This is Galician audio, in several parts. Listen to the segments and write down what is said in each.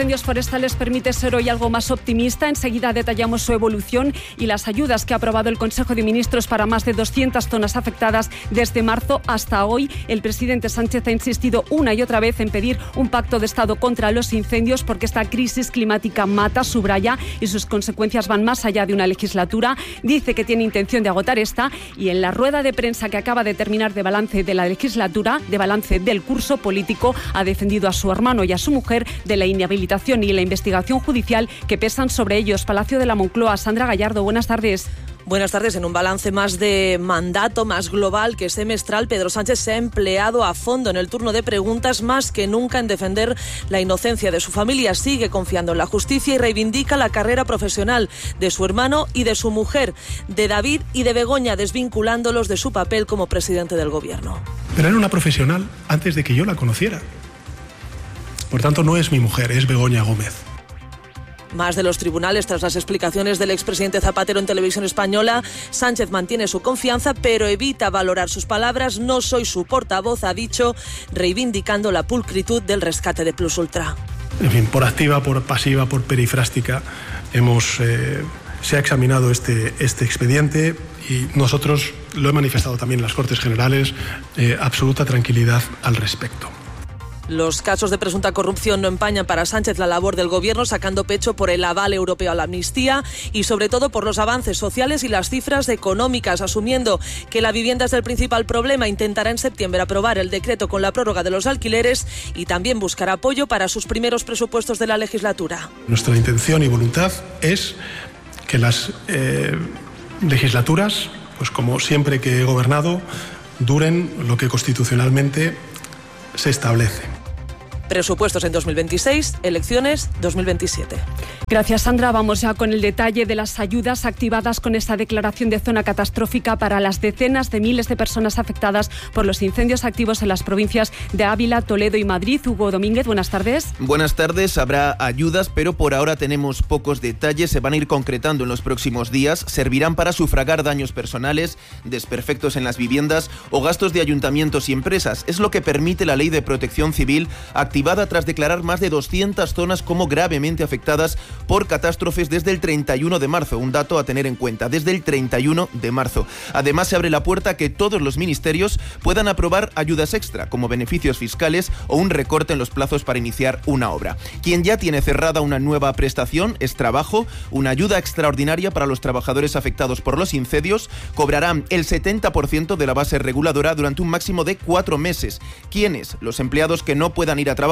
Incendios forestales permite ser hoy algo más optimista. Enseguida detallamos su evolución y las ayudas que ha aprobado el Consejo de Ministros para más de 200 zonas afectadas desde marzo hasta hoy. El presidente Sánchez ha insistido una y otra vez en pedir un pacto de Estado contra los incendios porque esta crisis climática mata, subraya, y sus consecuencias van más allá de una legislatura. Dice que tiene intención de agotar esta y en la rueda de prensa que acaba de terminar de balance de la legislatura, de balance del curso político, ha defendido a su hermano y a su mujer de la inhabilitación y la investigación judicial que pesan sobre ellos. Palacio de la Moncloa, Sandra Gallardo, buenas tardes. Buenas tardes. En un balance más de mandato, más global que semestral, Pedro Sánchez se ha empleado a fondo en el turno de preguntas más que nunca en defender la inocencia de su familia. Sigue confiando en la justicia y reivindica la carrera profesional de su hermano y de su mujer, de David y de Begoña, desvinculándolos de su papel como presidente del gobierno. Pero era una profesional antes de que yo la conociera. Por tanto, no es mi mujer, es Begoña Gómez. Más de los tribunales tras las explicaciones del expresidente Zapatero en Televisión Española. Sánchez mantiene su confianza, pero evita valorar sus palabras. No soy su portavoz, ha dicho, reivindicando la pulcritud del rescate de Plus Ultra. En fin, por activa, por pasiva, por perifrástica, se ha examinado este expediente y nosotros lo he manifestado también en las Cortes Generales, absoluta tranquilidad al respecto. Los casos de presunta corrupción no empañan para Sánchez la labor del gobierno, sacando pecho por el aval europeo a la amnistía y sobre todo por los avances sociales y las cifras económicas, asumiendo que la vivienda es el principal problema. Intentará en septiembre aprobar el decreto con la prórroga de los alquileres y también buscará apoyo para sus primeros presupuestos de la legislatura. Nuestra intención y voluntad es que las legislaturas, pues como siempre que he gobernado, duren lo que constitucionalmente se establece. Presupuestos en 2026, elecciones 2027. Gracias, Sandra. Vamos ya con el detalle de las ayudas activadas con esta declaración de zona catastrófica para las decenas de miles de personas afectadas por los incendios activos en las provincias de Ávila, Toledo y Madrid. Hugo Domínguez, buenas tardes. Buenas tardes. Habrá ayudas, pero por ahora tenemos pocos detalles. Se van a ir concretando en los próximos días. Servirán para sufragar daños personales, desperfectos en las viviendas o gastos de ayuntamientos y empresas. Es lo que permite la Ley de Protección Civil, activada tras declarar más de 200 zonas como gravemente afectadas por catástrofes desde el 31 de marzo. Un dato a tener en cuenta, desde el 31 de marzo. Además, se abre la puerta a que todos los ministerios puedan aprobar ayudas extra, como beneficios fiscales o un recorte en los plazos para iniciar una obra. Quien ya tiene cerrada una nueva prestación es Trabajo, una ayuda extraordinaria para los trabajadores afectados por los incendios. Cobrarán el 70% de la base reguladora durante un máximo de 4 meses. ¿Quiénes? Los empleados que no puedan ir a trabajar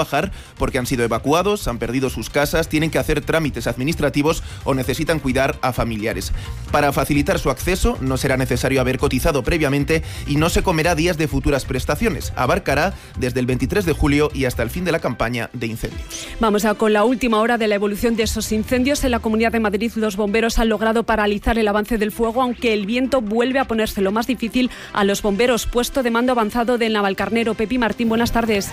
porque han sido evacuados, han perdido sus casas, tienen que hacer trámites administrativos o necesitan cuidar a familiares. Para facilitar su acceso no será necesario haber cotizado previamente y no se comerá días de futuras prestaciones. Abarcará desde el 23 de julio y hasta el fin de la campaña de incendios. Vamos ya con la última hora de la evolución de esos incendios. En la Comunidad de Madrid los bomberos han logrado paralizar el avance del fuego, aunque el viento vuelve a ponerse lo más difícil a los bomberos. Puesto de mando avanzado de Navalcarnero. Pepi Martín, buenas tardes.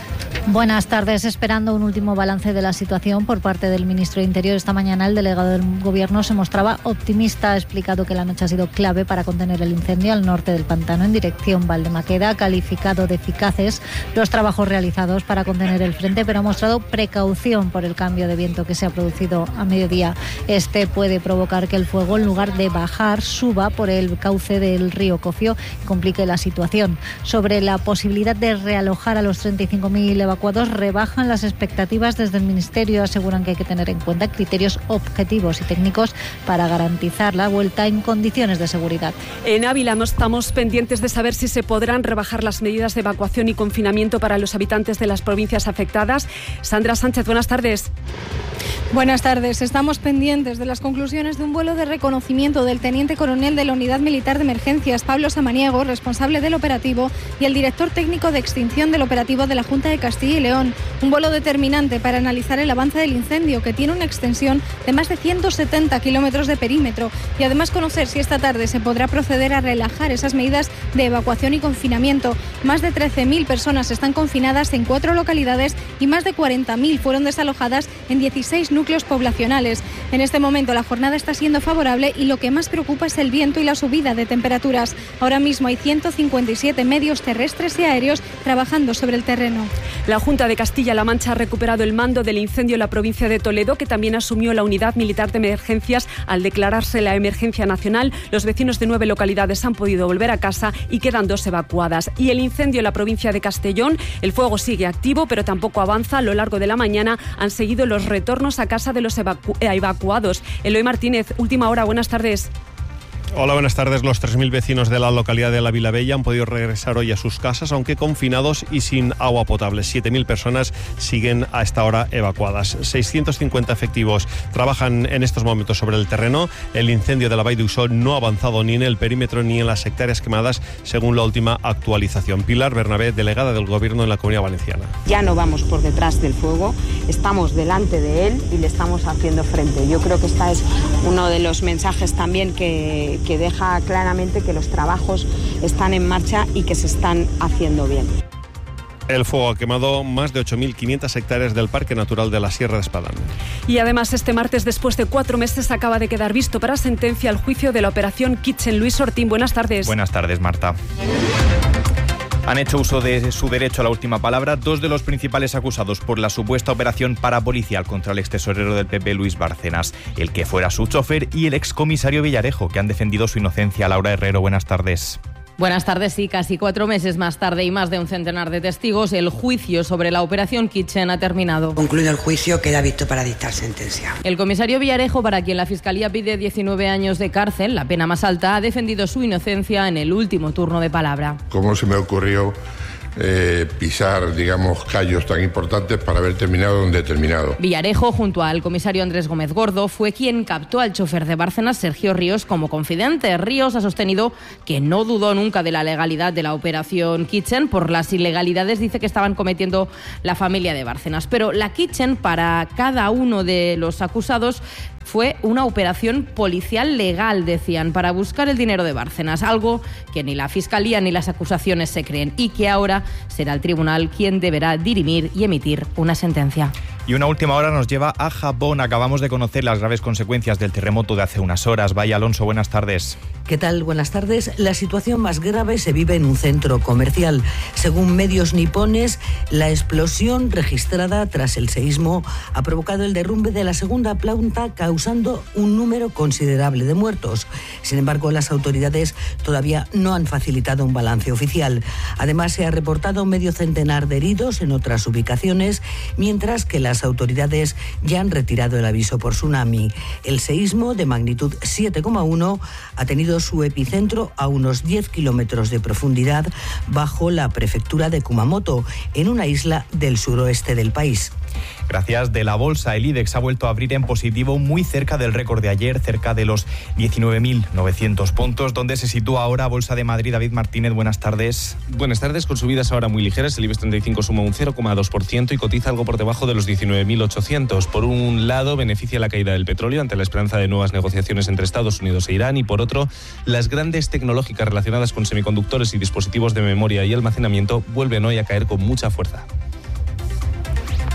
Buenas tardes. Esperando un último balance de la situación por parte del ministro de Interior. Esta mañana el delegado del Gobierno se mostraba optimista. Ha explicado que la noche ha sido clave para contener el incendio al norte del pantano en dirección Valdemaqueda. Ha calificado de eficaces los trabajos realizados para contener el frente, pero ha mostrado precaución por el cambio de viento que se ha producido a mediodía. Este puede provocar que el fuego, en lugar de bajar, suba por el cauce del río Cofio y complique la situación. Sobre la posibilidad de realojar a los 35.000 evacuados, bajan las expectativas desde el Ministerio. Aseguran que hay que tener en cuenta criterios objetivos y técnicos para garantizar la vuelta en condiciones de seguridad. En Ávila estamos pendientes de saber si se podrán rebajar las medidas de evacuación y confinamiento para los habitantes de las provincias afectadas. Sandra Sánchez, buenas tardes. Buenas tardes. Estamos pendientes de las conclusiones de un vuelo de reconocimiento del teniente coronel de la Unidad Militar de Emergencias, Pablo Samaniego, responsable del operativo, y el director técnico de extinción del operativo de la Junta de Castilla y León. Un vuelo determinante para analizar el avance del incendio, que tiene una extensión de más de 170 kilómetros de perímetro, y además conocer si esta tarde se podrá proceder a relajar esas medidas de evacuación y confinamiento. Más de 13.000 personas están confinadas en 4 localidades y más de 40.000 fueron desalojadas en 16 núcleos núcleos poblacionales. En este momento la jornada está siendo favorable y lo que más preocupa es el viento y la subida de temperaturas. Ahora mismo hay 157 medios terrestres y aéreos trabajando sobre el terreno. La Junta de Castilla-La Mancha ha recuperado el mando del incendio en la provincia de Toledo, que también asumió la Unidad Militar de Emergencias al declararse la emergencia nacional. Los vecinos de 9 localidades han podido volver a casa y quedan 2 evacuadas. Y el incendio en la provincia de Castellón, el fuego sigue activo, pero tampoco avanza. A lo largo de la mañana han seguido los retornos a casa de los evacuados. Eloy Martínez, Última Hora, buenas tardes. Hola, buenas tardes. Los 3.000 vecinos de la localidad de La Vilavella han podido regresar hoy a sus casas, aunque confinados y sin agua potable. 7.000 personas siguen a esta hora evacuadas. 650 efectivos trabajan en estos momentos sobre el terreno. El incendio de la Vall d'Uixó no ha avanzado ni en el perímetro ni en las hectáreas quemadas, según la última actualización. Pilar Bernabé, delegada del Gobierno en la Comunidad Valenciana. Ya no vamos por detrás del fuego, estamos delante de él y le estamos haciendo frente. Yo creo que este es uno de los mensajes también que deja claramente que los trabajos están en marcha y que se están haciendo bien. El fuego ha quemado más de 8.500 hectáreas del Parque Natural de la Sierra de Espadán. Y además, este martes, después de 4 meses, acaba de quedar visto para sentencia el juicio de la operación Kitchen. Luis Ortín, buenas tardes. Buenas tardes, Marta. Han hecho uso de su derecho a la última palabra 2 de los principales acusados por la supuesta operación parapolicial contra el extesorero del PP, Luis Bárcenas, el que fuera su chofer, y el excomisario Villarejo, que han defendido su inocencia. Laura Herrero, buenas tardes. Buenas tardes. Sí, casi 4 meses más tarde y más de un centenar de testigos, el juicio sobre la operación Kitchen ha terminado. Concluido el juicio, queda visto para dictar sentencia. El comisario Villarejo, para quien la Fiscalía pide 19 años de cárcel, la pena más alta, ha defendido su inocencia en el último turno de palabra. ¿Cómo se me ocurrió pisar, digamos, callos tan importantes para haber terminado donde he terminado? Villarejo, junto al comisario Andrés Gómez Gordo, fue quien captó al chofer de Bárcenas, Sergio Ríos, como confidente. Ríos ha sostenido que no dudó nunca de la legalidad de la operación Kitchen. Por las ilegalidades dice que estaban cometiendo la familia de Bárcenas. Pero la Kitchen, para cada uno de los acusados, fue una operación policial legal, decían, para buscar el dinero de Bárcenas, algo que ni la Fiscalía ni las acusaciones se creen y que ahora será el tribunal quien deberá dirimir y emitir una sentencia. Y una última hora nos lleva a Japón. Acabamos de conocer las graves consecuencias del terremoto de hace unas horas. Vaya, Alonso, buenas tardes. ¿Qué tal? Buenas tardes. La situación más grave se vive en un centro comercial. Según medios nipones, la explosión registrada tras el seísmo ha provocado el derrumbe de la segunda planta, causando un número considerable de muertos. Sin embargo, las autoridades todavía no han facilitado un balance oficial. Además, se ha reportado medio centenar de heridos en otras ubicaciones, mientras que las autoridades ya han retirado el aviso por tsunami. El seísmo, de magnitud 7,1, ha tenido su epicentro a unos 10 kilómetros de profundidad bajo la prefectura de Kumamoto, en una isla del suroeste del país. Gracias. De la bolsa, el IBEX ha vuelto a abrir en positivo, muy cerca del récord de ayer, cerca de los 19.900 puntos, donde se sitúa ahora Bolsa de Madrid. David Martínez, buenas tardes. Buenas tardes. Con subidas ahora muy ligeras, el IBEX 35 suma un 0,2% y cotiza algo por debajo de los 19.800. Por un lado, beneficia la caída del petróleo ante la esperanza de nuevas negociaciones entre Estados Unidos e Irán, y por otro, las grandes tecnológicas relacionadas con semiconductores y dispositivos de memoria y almacenamiento vuelven hoy a caer con mucha fuerza.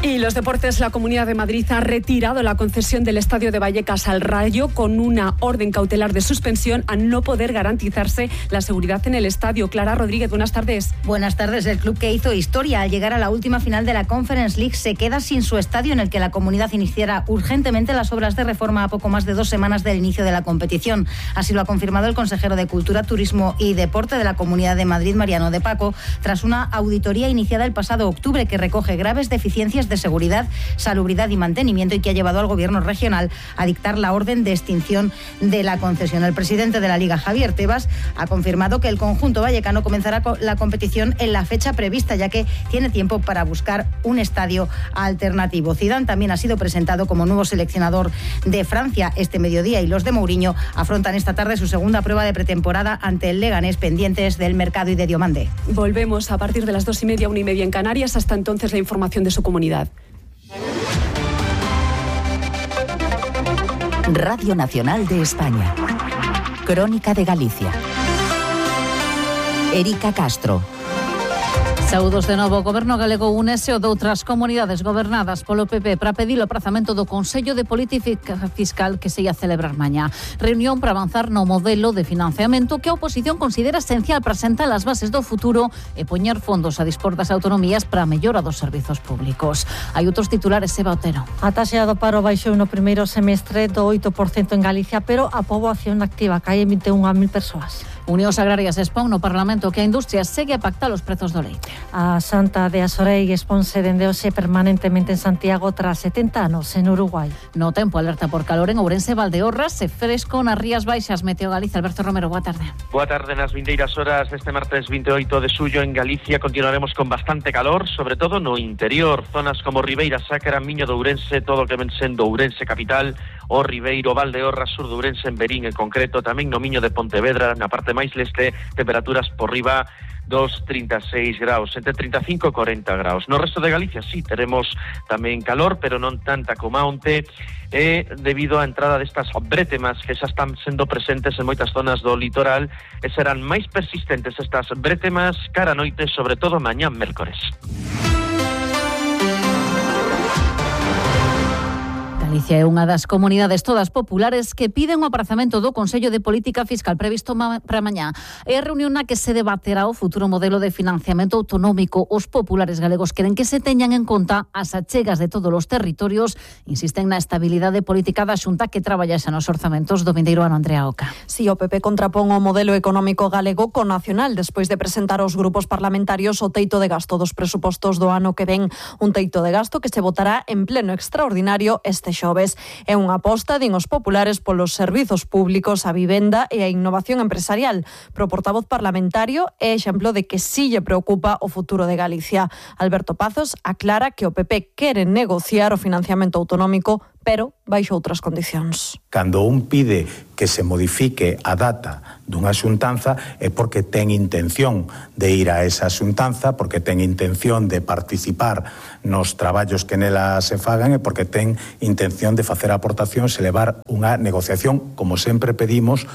Y los deportes, la Comunidad de Madrid ha retirado la concesión del Estadio de Vallecas al Rayo con una orden cautelar de suspensión a no poder garantizarse la seguridad en el estadio. Clara Rodríguez, buenas tardes. Buenas tardes. El club que hizo historia al llegar a la última final de la Conference League se queda sin su estadio, en el que la comunidad iniciara urgentemente las obras de reforma a poco más de 2 semanas del inicio de la competición. Así lo ha confirmado el consejero de Cultura, Turismo y Deporte de la Comunidad de Madrid, Mariano de Paco, tras una auditoría iniciada el pasado octubre que recoge graves deficiencias de seguridad, salubridad y mantenimiento, y que ha llevado al gobierno regional a dictar la orden de extinción de la concesión. El presidente de la Liga, Javier Tebas, ha confirmado que el conjunto vallecano comenzará la competición en la fecha prevista, ya que tiene tiempo para buscar un estadio alternativo. Zidane también ha sido presentado como nuevo seleccionador de Francia este mediodía, y los de Mourinho afrontan esta tarde su segunda prueba de pretemporada ante el Leganés, pendientes del mercado y de Diomande. Volvemos a partir de las 2:30, 1:30 en Canarias. Hasta entonces, la información de su comunidad. Radio Nacional de España. Crónica de Galicia. Erika Castro. Saúdos de novo, o Goberno galego únese o doutras comunidades gobernadas polo PP para pedir o aprazamento do Consello de Política Fiscal que se ia celebrar mañá. Reunión para avanzar no modelo de financiamento que a oposición considera esencial para sentar as bases do futuro e poñer fondos a dispor das autonomías para a mellora dos servizos públicos. Hai outros titulares, Eva Otero. A taxa do paro baixou no primeiro semestre do 8% en Galicia, pero a poboación activa cae en 21.000 persoas. Unións Agrarias expón no Parlamento que a industria segue a pactar os prezos do leite. A Santa de Azorei exponse dende hoxe permanentemente en Santiago tras 70 anos en Uruguai. No tempo, alerta por calor en Ourense, Valdeorras e fresco nas Rías Baixas. Meteo Galicia, Alberto Romero, boa tarde. Boa tarde. Nas vindeiras horas deste martes 28 de xullo en Galicia continuaremos con bastante calor, sobre todo no interior, zonas como Ribeira Sacra, Miño de Ourense, todo o que ven sendo Ourense capital, o Ribeiro, Valdeorras, sur de Ourense, en Verín en concreto, tamén no Miño de Pontevedra, na parte máis leste, temperaturas por riba dos 36 graus, entre 35 e 40 graus. No resto de Galicia sí, teremos tamén calor, pero non tanta como onte, debido á entrada destas brétemas que xa están sendo presentes en moitas zonas do litoral e serán máis persistentes estas brétemas cara a noite, sobre todo mañá mércores. Galicia é unha das comunidades todas populares que piden o aprazamento do Consello de Política Fiscal previsto para mañá. É a reunión na que se debaterá o futuro modelo de financiamento autonómico. Os populares galegos queren que se teñan en conta as achegas de todos os territorios, insisten na estabilidade política da Xunta que traballase nos orzamentos do vindeiro ano. Andrea Oca. Si, o PP contrapón o modelo económico galego co nacional despois de presentar aos grupos parlamentarios o teito de gasto dos presupostos do ano que ven, un teito de gasto que se votará en pleno extraordinario este xoves. É unha aposta, din os populares, polos servizos públicos, a vivenda e a innovación empresarial. Pro portavoz parlamentario é exemplo de que sí lle preocupa o futuro de Galicia. Alberto Pazos aclara que o PP quere negociar o financiamento autonómico, pero baixo outras condicións. Cando un pide que se modifique a data dunha xuntanza é porque ten intención de ir a esa xuntanza, porque ten intención de participar nos traballos que nela se fagan e porque ten intención de facer aportacións e levar unha negociación, como sempre pedimos,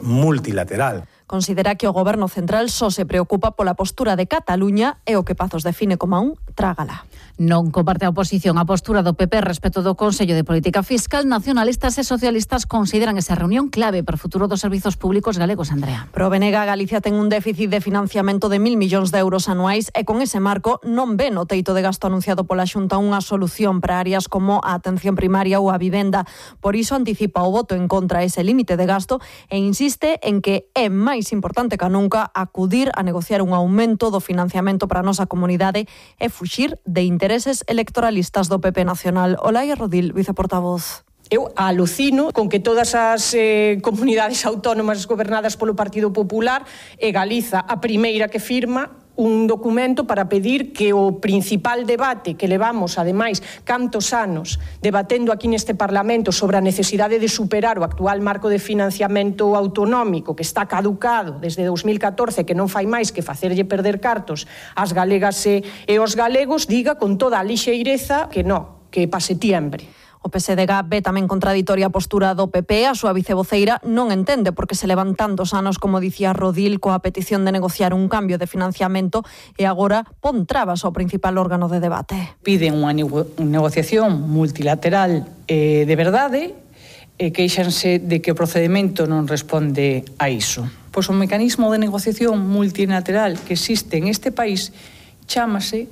multilateral. Considera que o Goberno Central só se preocupa pola postura de Cataluña e o que Pazos define como un trágala. Non comparte a oposición a postura do PP respecto do Consello de Política Fiscal. Nacionalistas e socialistas consideran esa reunión clave para o futuro dos servizos públicos galegos, Andrea. Pro BNG, Galicia ten un déficit de financiamento de 1.000 millóns de euros anuais e con ese marco non ve no teito de gasto anunciado pola Xunta unha solución para áreas como a atención primaria ou a vivenda. Por iso anticipa o voto en contra a ese límite de gasto e insiste en que é máis importante que nunca acudir a negociar un aumento do financiamento para a nosa comunidade e fuxir de intereses electoralistas do PP nacional. Olaia Rodil, viceportavoz. Eu alucino con que todas as comunidades autónomas gobernadas polo Partido Popular e Galiza a primeira que firma un documento para pedir que o principal debate que levamos, ademais, cantos anos debatendo aquí neste Parlamento sobre a necesidade de superar o actual marco de financiamento autonómico que está caducado desde 2014, que non fai máis que facerlle perder cartos ás galegas e aos galegos, diga con toda a lixeireza que non, que pa setiembre. O PSDG ve tamén contraditoria a postura do PP. A súa vicevoceira non entende porque se levan tantos anos, como dicía Rodil, coa petición de negociar un cambio de financiamento e agora pon trabas ao principal órgano de debate. Piden unha negociación multilateral de verdade e queixanse de que o procedimento non responde a iso. Pois o mecanismo de negociación multilateral que existe en este país chámase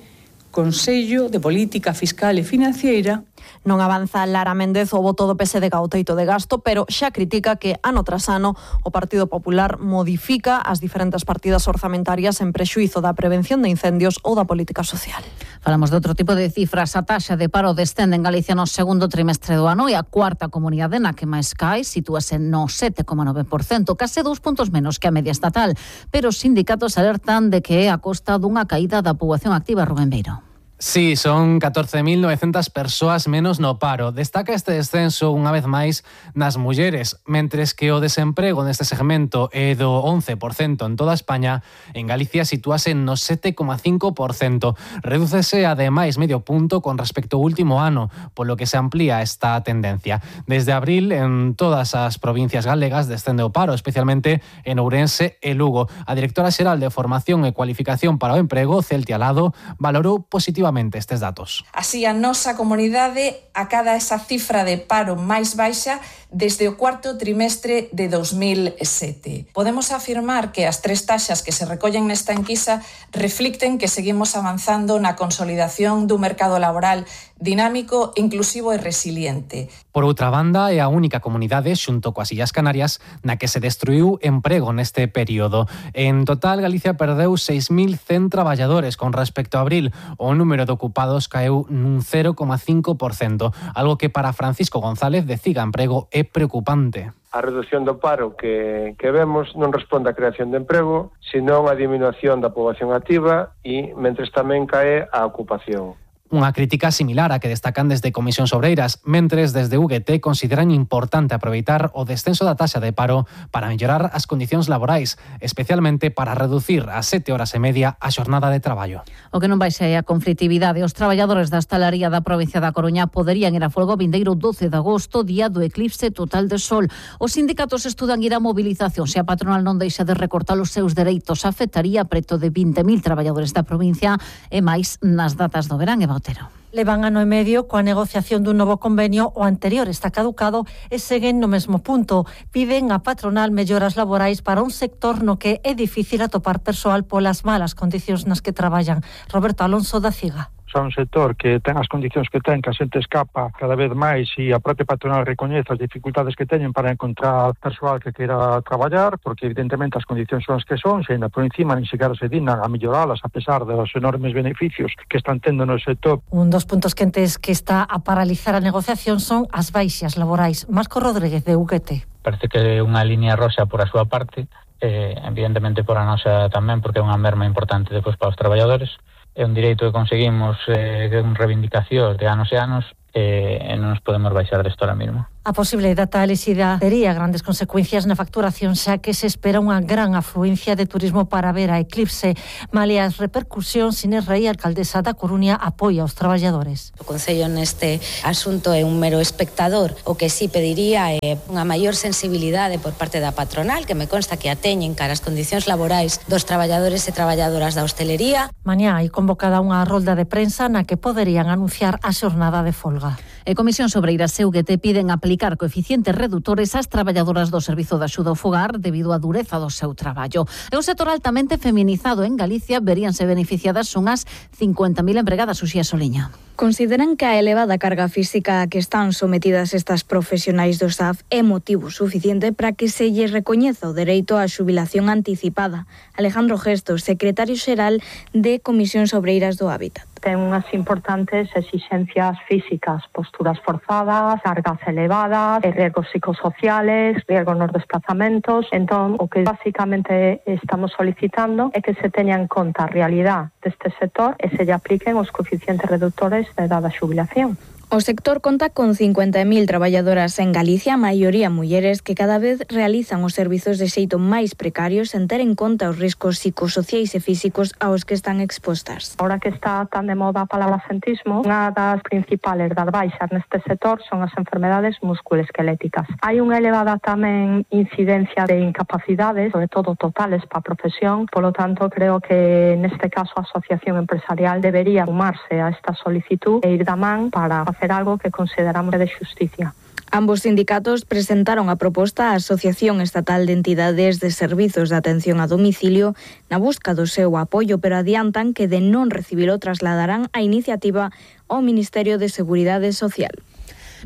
Consello de Política Fiscal e Financiera. Non avanza Lara Méndez o voto do PSDG ao teito de gasto, pero xa critica que ano tras ano o Partido Popular modifica as diferentes partidas orzamentarias en prexuízo da prevención de incendios ou da política social. Falamos de outro tipo de cifras. A taxa de paro descende en Galicia no segundo trimestre do ano e a cuarta comunidade na que máis cae sitúase no 7,9%, case 2 puntos menos que a media estatal, pero os sindicatos alertan de que é a costa dunha caída da poboación activa. Rubén Beiro. Sí, son 14.900 persoas menos no paro. Destaca este descenso unha vez máis nas mulleres, mentres que o desemprego neste segmento é do 11% en toda España, en Galicia sitúase no 7,5%. Redúcese ademais medio punto con respecto ao último ano, polo que se amplía esta tendencia. Desde abril, en todas as provincias galegas descende o paro, especialmente en Ourense e Lugo. A directora xeral de Formación e Cualificación para o Emprego, Celtia Lado, valorou positivamente estes datos. Así, a nosa comunidade acada esa cifra de paro máis baixa desde o cuarto trimestre de 2007. Podemos afirmar que as tres taxas que se recollen nesta enquisa reflicten que seguimos avanzando na consolidación dun mercado laboral dinámico, inclusivo e resiliente. Por outra banda, é a única comunidade, xunto coas Illas Canarias, na que se destruiu emprego neste período. En total, Galicia perdeu 6.100 traballadores con respecto a abril. O número de ocupados caeu nun 0,5%, algo que para Francisco González de Ciga Emprego é preocupante. A reducción do paro que vemos non responde á creación de emprego, senón á diminución da poboación activa e mentres tamén cae a ocupación. Unha crítica similar a que destacan desde Comisións Obreiras, mentres desde UGT consideran importante aproveitar o descenso da taxa de paro para mellorar as condicións laborais, especialmente para reducir a 7 horas e media a xornada de traballo. O que non vai ser a conflitividade. Os traballadores da hostalaría da provincia da Coruña poderían ir a folga o vindeiro 12 de agosto, día do eclipse total de sol. Os sindicatos estudan ir a movilización. Se a patronal non deixa de recortar os seus dereitos, afectaría preto de 20.000 traballadores da provincia e máis nas datas do verán. Otero. Levan ano e medio coa negociación dun novo convenio, o anterior está caducado e seguen no mesmo punto. Piden a patronal melloras laborais para un sector no que é difícil atopar persoal polas malas condicións nas que traballan. Roberto Alonso da Ciga. Son un sector que ten as condicións que ten, que a xente escapa cada vez máis e a propia patronal recoñece as dificultades que teñen para encontrar persoal que queira traballar, porque evidentemente as condicións son as que son, se ainda por encima nin sequera se dignan a melloralas a pesar dos enormes beneficios que están tendo no sector. Un dos puntos quentes que está a paralizar a negociación son as baixas laborais. Marco Rodríguez de UGT. Parece que é unha línea roxa por a súa parte, evidentemente por a nosa tamén, porque é unha merma importante depois para os traballadores. É un direito que conseguimos con reivindicacións de anos e anos e non nos podemos baixar desto ahora mesmo. A posible data elixida tería grandes consecuencias na facturación, xa que se espera unha gran afluencia de turismo para ver a eclipse. Malia as repercusións, Inés Rei, alcaldesa da Coruña, apoia aos traballadores. O Concello neste asunto é un mero espectador. O que sí pediría é unha maior sensibilidade por parte da patronal, que me consta que a teñen cara as condicións laborais dos traballadores e traballadoras da hostelería. Mañá hai convocada unha rolda de prensa na que poderían anunciar a xornada de folga. E Comisións Obreiras e UGT piden aplicar coeficientes redutores ás traballadoras do Servizo de Axuda ao Fogar debido á dureza do seu traballo. É un sector altamente feminizado en Galicia, veríanse beneficiadas unhas 50.000 empregadas. Uxía Soliña. Consideran que a elevada carga física a que están sometidas estas profesionais do SAF é motivo suficiente para que se lles recoñeza o dereito á xubilación anticipada. Alejandro Gestos, secretario xeral de Comisións Obreiras do Hábitat. Ten unhas importantes exixencias físicas, posturas forzadas, cargas elevadas, riesgos psicosociales, riesgos nos desplazamentos. Entón, o que basicamente estamos solicitando é que se teña en conta a realidade deste sector e se lle apliquen os coeficientes reductores da edad da xubilación. O sector conta con 50.000 traballadoras en Galicia, a maioría mulleres, que cada vez realizan os servizos de xeito máis precarios sen ter en conta os riscos psicosociais e físicos aos que están expostas. Ahora que está tan de moda a palabra absentismo, unha das principales das baixas neste sector son as enfermedades musculoesqueléticas. Hai unha elevada tamén incidencia de incapacidades, sobre todo totales para a profesión, polo tanto creo que neste caso a Asociación Empresarial debería sumarse a esta solicitud e ir da man para hacer algo que consideramos de xusticia. Ambos sindicatos presentaron a proposta á Asociación Estatal de Entidades de Servizos de Atención a Domicilio na busca do seu apoio, pero adiantan que de non recibilo trasladarán a iniciativa ao Ministerio de Seguridade Social.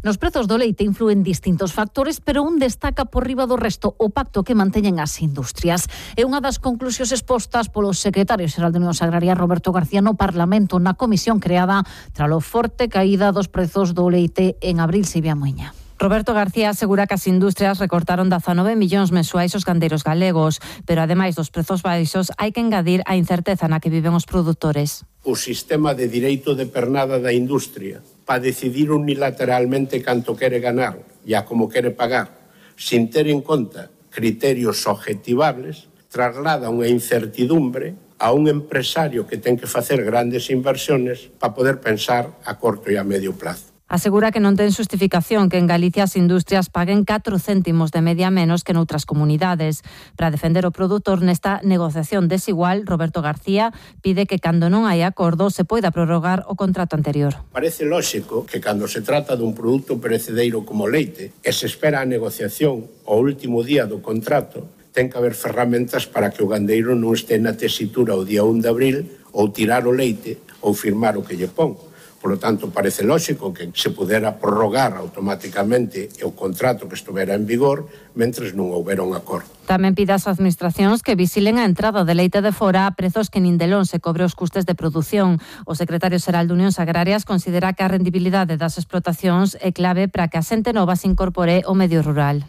Nos prezos do leite influen distintos factores, pero un destaca por riba do resto, o pacto que manteñen as industrias. É unha das conclusións expostas polo secretario xeral de Unión Agraria, Roberto García, no Parlamento, na comisión creada tralo forte caída dos prezos do leite en abril. Silvia Moiña. Roberto García asegura que as industrias recortaron 19 millóns mensuais os gandeiros galegos, pero ademais dos prezos baixos hai que engadir a incerteza na que viven os produtores. o sistema de direito de pernada da industria para decidir unilateralmente canto quere ganar e a como quere pagar, sin ter en conta criterios objetivables, traslada unha incertidumbre a un empresario que ten que facer grandes inversiones para poder pensar a corto e a medio plazo. Asegura que non ten xustificación que en Galicia as industrias paguen 4 céntimos de media menos que noutras comunidades. Para defender o produtor nesta negociación desigual, Roberto García pide que cando non hai acordo se poida prorrogar o contrato anterior. Parece lóxico que cando se trata dun produto perecedeiro como leite e se espera a negociación ao último día do contrato, ten que haber ferramentas para que o gandeiro non este na tesitura o día 1 de abril ou tirar o leite ou firmar o que lle pon. Por lo tanto, parece lógico que se pudera prorrogar automáticamente o contrato que estuvera en vigor mentres non houbera un acordo. Tamén pide ás administracións que vixilen a entrada de leite de fora a prezos que nin de lonxe cobre os custes de produción. O secretario xeral de Unións Agrarias considera que a rendibilidade das explotacións é clave para que a xente nova se incorpore ao medio rural.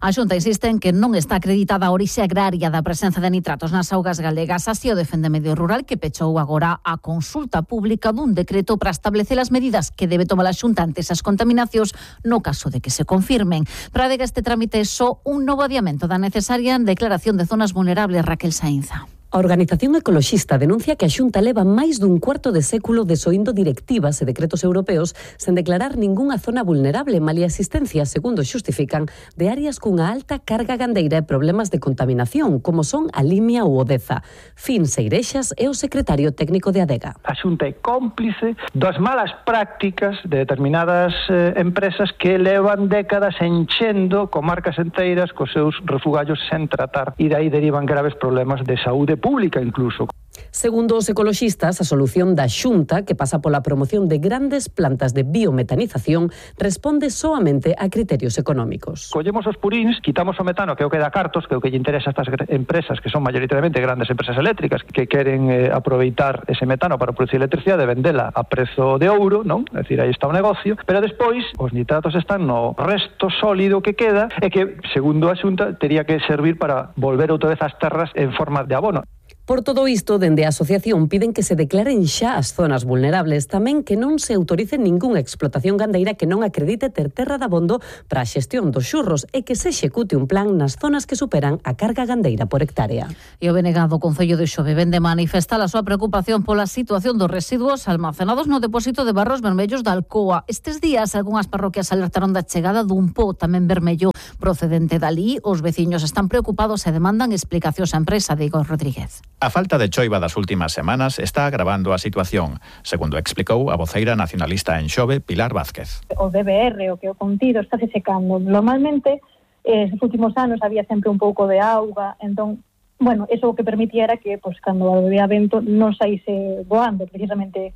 A Xunta insiste en que non está acreditada a orixe agraria da presenza de nitratos nas augas galegas. Así o defende Medio Rural, que pechou agora a consulta pública dun decreto para establecer as medidas que debe tomar a Xunta ante esas contaminacións no caso de que se confirmen. Para que este trámite é só un novo adiamento da necesaria declaración de zonas vulnerables. Raquel Sainza. A organización ecoloxista denuncia que a Xunta leva máis dun cuarto de século desoindo directivas e decretos europeos sen declarar ningunha zona vulnerable, malia existencia, segundo xustifican, de áreas cunha alta carga gandeira e problemas de contaminación, como son a Limia ou o Deza. Fin Seirexas é o secretario técnico de Adega. A Xunta é cómplice das malas prácticas de determinadas empresas que levan décadas enchendo comarcas enteiras cos seus refugallos sen tratar, e dai derivan graves problemas de saúde pública incluso. Segundo os ecoloxistas, a solución da Xunta, que pasa pola promoción de grandes plantas de biometanización, responde soamente a criterios económicos. Collemos os puríns, quitamos o metano, que é o que dá cartos, que é o que lle interesa a estas empresas, que son mayoritariamente grandes empresas eléctricas, que queren aproveitar ese metano para producir electricidade e vendela a prezo de ouro, non? É dicir, aí está o negocio, pero despois os nitratos están no resto sólido que queda e que, segundo a Xunta, tería que servir para volver outra vez ás terras en forma de abono. Por todo isto, dende a asociación piden que se declaren xa as zonas vulnerables, tamén que non se autorice ningunha explotación gandeira que non acredite ter terra de abondo para a xestión dos xurros e que se execute un plan nas zonas que superan a carga gandeira por hectárea. E o Benegado Concello de Xove vende manifestar a súa preocupación pola situación dos residuos almacenados no depósito de barros vermellos da Alcoa. Estes días, algunhas parroquias alertaron da chegada dun po tamén vermello procedente dali. Os veciños están preocupados e demandan explicacións á empresa de Igor Rodríguez. A falta de choiva das últimas semanas está agravando a situación, segundo explicou a voceira nacionalista en Xove, Pilar Vázquez. O DBR, o que o contido, está se secando. Normalmente, estes últimos anos había sempre un pouco de auga, entón, bueno, eso o que permitía era que, pues, cando había vento non saíse voando, precisamente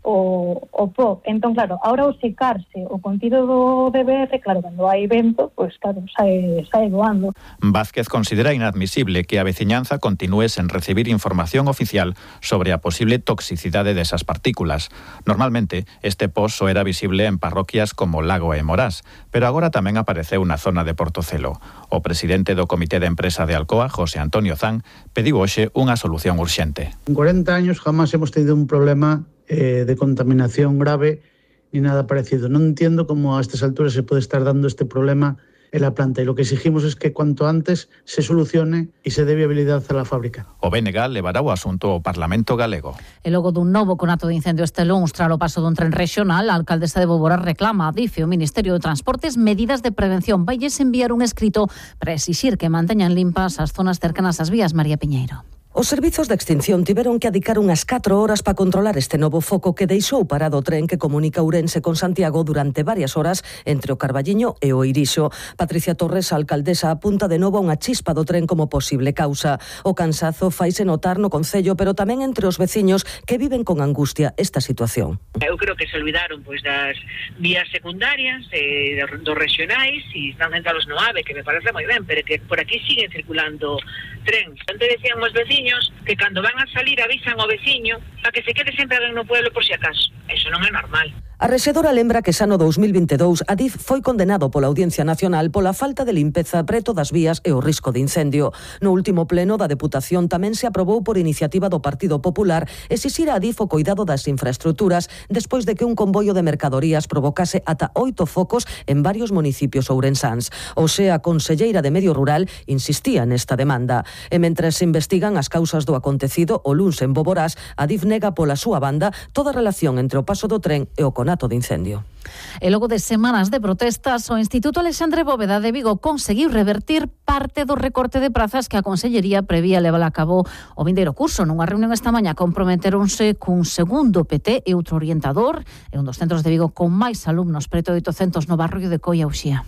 o po. Entón, claro, ahora o secarse o contido do DBR, claro, cando hai vento, pues claro, sae voando. Vázquez considera inadmisible que a veciñanza continúe sen recibir información oficial sobre a posible toxicidade desas partículas. Normalmente, este pozo era visible en parroquias como Lago e Morás, pero agora tamén apareceu na zona de Portocelo. O presidente do Comité de Empresa de Alcoa, José Antonio Zan, pediu hoxe unha solución urxente. En 40 años jamás hemos tenido un problema de contaminación grave ni nada parecido. Non entiendo como a estas alturas se pode estar dando este problema en la planta, e lo que exigimos es que cuanto antes se solucione e se dé viabilidade a la fábrica. O BNG levará o asunto ao Parlamento galego. E logo dun novo conato de incendio este luns tras o paso dun tren regional, a alcaldesa de Bóvora reclama a DIF e o Ministerio de Transportes medidas de prevención. Vailles enviar un escrito para exixir que manteñan limpas as zonas cercanas ás vías. María Piñeiro. Os servizos de extinción tiveron que adicar unhas 4 horas para controlar este novo foco que deixou parado o tren que comunica Ourense con Santiago durante varias horas entre o Carballiño e o Irixo. Patricia Torres, a alcaldesa, apunta de novo a unha chispa do tren como posible causa. O cansazo faise notar no concello, pero tamén entre os veciños que viven con angustia esta situación. Eu creo que se olvidaron das vías secundarias, dos regionais, e están centrados no AVE, que me parece moi ben, pero que por aquí siguen circulando trens. Antes decían os veciños que cando van a salir avisan ao veciño para que se quede sempre alguén no pueblo por si acaso. Eso non é normal. A rexedora lembra que xa no 2022 Adif foi condenado pola Audiencia Nacional pola falta de limpeza preto das vías e o risco de incendio. No último pleno da Deputación tamén se aprobou por iniciativa do Partido Popular exixir a Adif o coidado das infraestructuras despois de que un convoio de mercadorías provocase ata 8 focos en varios municipios ourensáns. Hoxe a conselleira de Medio Rural insistía nesta demanda. E mentres se investigan as causas do acontecido o luns en Boborás, Adif nega pola súa banda toda relación entre o paso do tren e o conato de incendio. E logo de semanas de protestas, o Instituto Alexandre Bóveda de Vigo conseguiu revertir parte do recorte de prazas que a Consellería prevía levar a cabo o vindeiro curso. Nunha reunión esta mañá comprometeronse cun segundo PT e outro orientador e un dos centros de Vigo con máis alumnos, preto de 800 no barrio de Coia Uxía.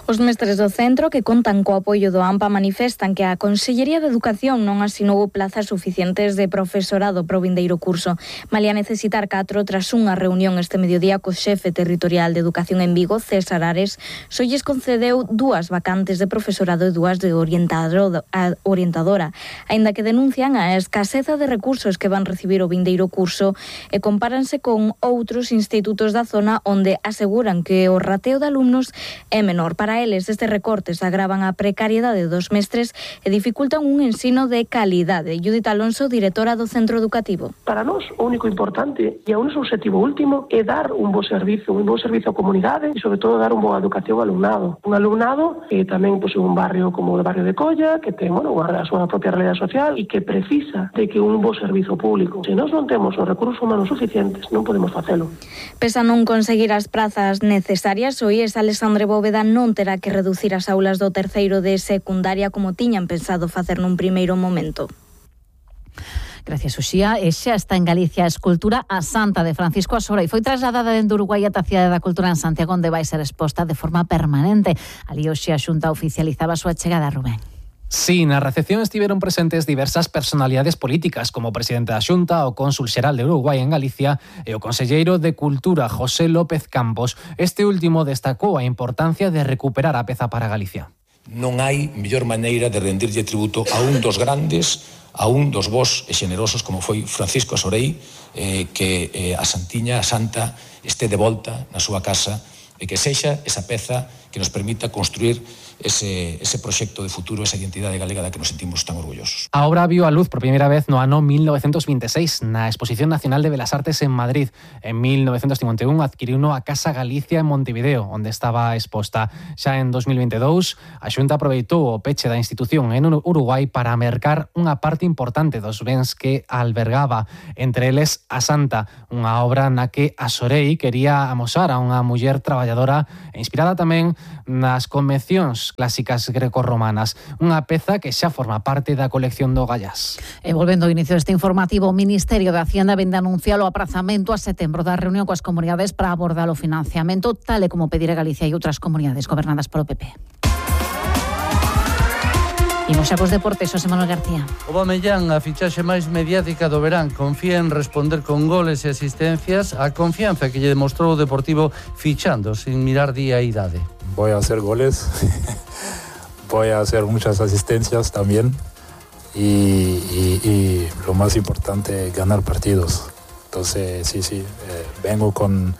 Os mestres do centro, que contan co apoio do AMPA, manifestan que a Consellería de Educación non asinou plazas suficientes de profesorado para o vindeiro curso. Malia necesitar 4 tras unha reunión este mediodía co xefe territorial de Educación en Vigo, César Ares, só lles concedeu 2 vacantes de profesorado e 2 de orientadora, aínda que denuncian a escaseza de recursos que van recibir o vindeiro curso e compáranse con outros institutos da zona onde aseguran que o rateo de alumnos é menor. Para eles, estes recortes agravan a precariedade dos mestres e dificultan un ensino de calidade. Judith Alonso, directora do centro educativo. Para nós, o único importante e o noso objetivo último é dar un bo servizo á comunidade e, sobre todo, dar unha boa educación ao alumnado. Un alumnado que tamén posee un barrio como o barrio de Colla, que ten a súa propia realidade social e que precisa de que un bo servizo público. Se nós non temos os recursos humanos suficientes, non podemos facelo. Pese a non conseguir as prazas necesarias, o IES Alexandre Bóveda non terá que reducir as aulas do terceiro de secundaria como tiñan pensado facer nun primeiro momento. Gracias, Uxía. E xa está en Galicia a escultura A Santa de Francisco Asora e foi trasladada dende Uruguai ata a Cidade da Cultura en Santiago, onde vai ser exposta de forma permanente. Ali hoxe a Xunta oficializaba a súa chegada, Rubén. Sí, na recepción estiveron presentes diversas personalidades políticas, como o presidente da Xunta, o cónsul xeral de Uruguai en Galicia e o conselleiro de Cultura, José López Campos. Este último destacou a importancia de recuperar a peza para Galicia. Non hai mellor maneira de rendirlle tributo a un dos grandes, a un dos bos e xenerosos como foi Francisco Asorei, que a Santiña, a Santa, este de volta na súa casa e que sexa esa peza que nos permita construir ese proxecto de futuro, esa identidade galega da que nos sentimos tan orgullosos. A obra viu a luz por primeira vez no ano 1926 na Exposición Nacional de Belas Artes en Madrid. En 1951 adquiriuno a Casa Galicia en Montevideo, onde estaba exposta. Xa en 2022, a Xunta aproveitou o peche da institución en Uruguai para mercar unha parte importante dos bens que albergaba, entre eles a Santa, unha obra na que Asorei quería amosar a unha muller traballadora e inspirada tamén nas convencións clásicas grecorromanas, unha peza que xa forma parte da colección do Gallás. E volvendo ao inicio deste informativo, o Ministerio de Hacienda vende anunciar o aprazamento a setembro da reunión coas comunidades para abordar o financiamento, tal e como pedirá Galicia e outras comunidades gobernadas polo PP. Imos xa cos deportes, Xosé Manuel García. O Bamellán, a fichaxe máis mediática do verán, confía en responder con goles e asistencias a confianza que lle demostrou o Deportivo fichando sin mirar día e idade. Voy a hacer goles, voy a hacer muchas asistencias también y lo más importante, ganar partidos. Entonces, sí, vengo con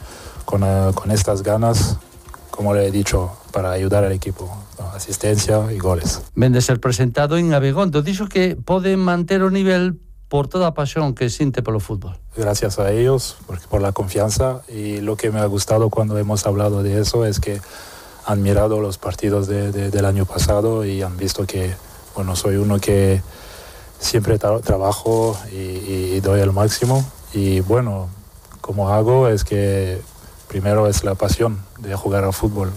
estas ganas, como le he dicho, para ayudar al equipo. Asistencia y goles. Ven de ser presentado en Abegondo. Dixo que pode manter o nivel por toda a pasión que siente polo fútbol. Gracias a ellos por la confianza, y lo que me ha gustado cuando hemos hablado de eso es que han mirado los partidos del año pasado y han visto que, bueno, soy uno que siempre trabajo y doy el máximo, y bueno, como hago es que primero es la pasión de jugar al fútbol.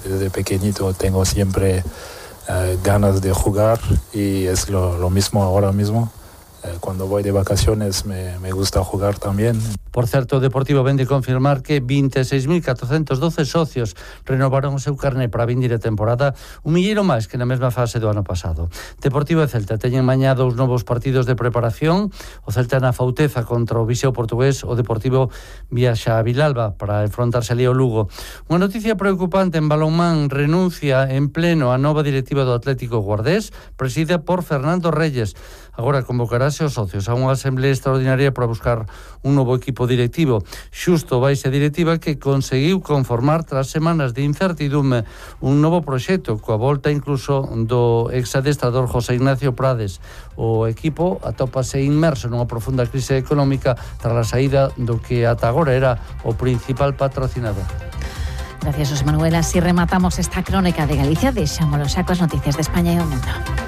Desde pequeñito tengo siempre ganas de jugar, y es lo mismo ahora mismo. Cuando voy de vacaciones me gusta jugar también. Por certo, o Deportivo vende confirmar que 26.412 socios renovaron o seu carné para a vindeira temporada, un milleiro máis que na mesma fase do ano pasado. Deportivo e Celta teñen mañá 2 novos partidos de preparación. O Celta na Fauteza contra o Viseu portugués, o Deportivo viaxa a Vilalba para enfrontarse ali ao Lugo. Unha noticia preocupante en balonmán: renuncia en pleno a nova directiva do Atlético Guardés, presidida por Fernando Reyes. Agora convocará convocarase os socios a unha asamblea extraordinaria para buscar un novo equipo directivo. Xusto baixa directiva que conseguiu conformar tras semanas de incertidume un novo proxecto coa volta incluso do exadestrador José Ignacio Prades. O equipo atópase inmerso nunha profunda crise económica tras a saída do que ata agora era o principal patrocinador. Gracias, José Manuel. Así rematamos esta crónica de Galicia. Deixámolo xa coas noticias de España e o mundo.